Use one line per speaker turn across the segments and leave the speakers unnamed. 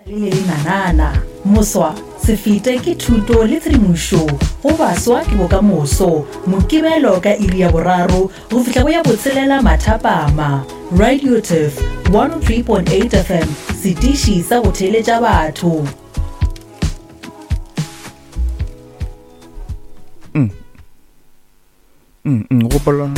Le le nanana. Moswa, se fete ke thuto le tshedimošo go baswa ke bokamoso. Mokibelo ka iri ya boraro go fihla go ya botshelela mathapama. Radio Turf 103.8 FM, setiši sa go theeletša batho.
Mm. Mm, mm, gopola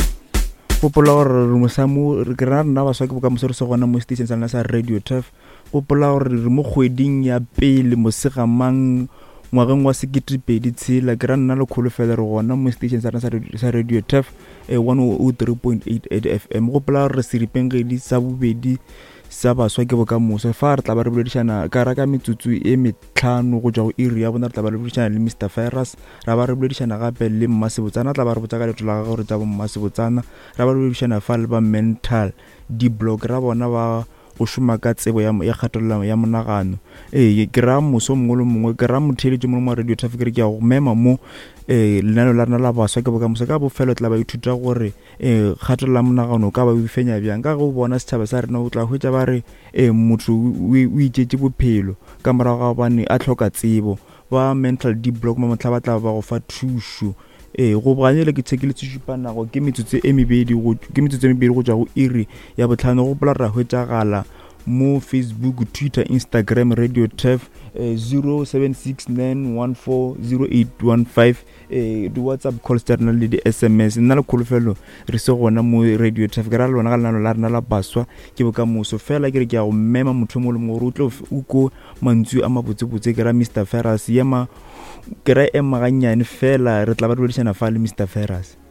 gopola gore re mosa mo re ke rena rena baswa ke bokamoso re se gona mo station sa lena sa radio turf gopola gore re mo kgweding ya pele mosegamang ngwageng wa seketepedi tshela ke ra nna le kholofelo re gona mo station sa rena sa radio turf eh, 103.88 fm gopola gore re seripeng gedi sa bobedi sa baswa ke bokamoso fa re tla ba re boledišana ka ra ka metsotso e tlhano go tšwa go iri ya bona re tla ba re boledišana le mr ferus ra ba re boledišana gape le mmasebotsana tla ba re botsa ka leeto la gagwe gore tša bo mmasebotsana ra ba re boledišana fa le ba mental di-block ra bona ba go šoma ka tsebo ya, ya kgatelelo ya monagano ee ke ra moso mongwe le mongwe ke ra motheeletši mongwe wa radio traffic re ke ya go mema mo um lenaneo la rena la baswa ke bokamoso ka bofelo tla ba ithuta gore um kgatelelo ya monagano o ka ba o fenya bjang ka ge o bona setšhaba sa rena o tla hwetša ba re um motho o itšetše bophelo ka morago ga gobane a hloka tsebo ba mental deep block mo motlha ba tla ba go fa thušo ee go boganyele ke tshekile sešupanago ke metsotso e mebedi go ke metsotso e mebedi go tšwa go iri ya botlhano go gopola ra hwetšagala mo facebook twitter instagram radio tef eh, 0769140815 eh, di-whatsapp calls tša rena le di-sms nna le kholofelo re se gona mo radio traffic ra lona ga lenano la rena la baswa ke bokamoso fela ke re ke ya go mema motho mo le mongwe gore o tlo o ko mantsu a mabotsebotse ke ra mr ferus ema ke ra ema gannyane fela re tla ba re boledišana fa le mr ferus.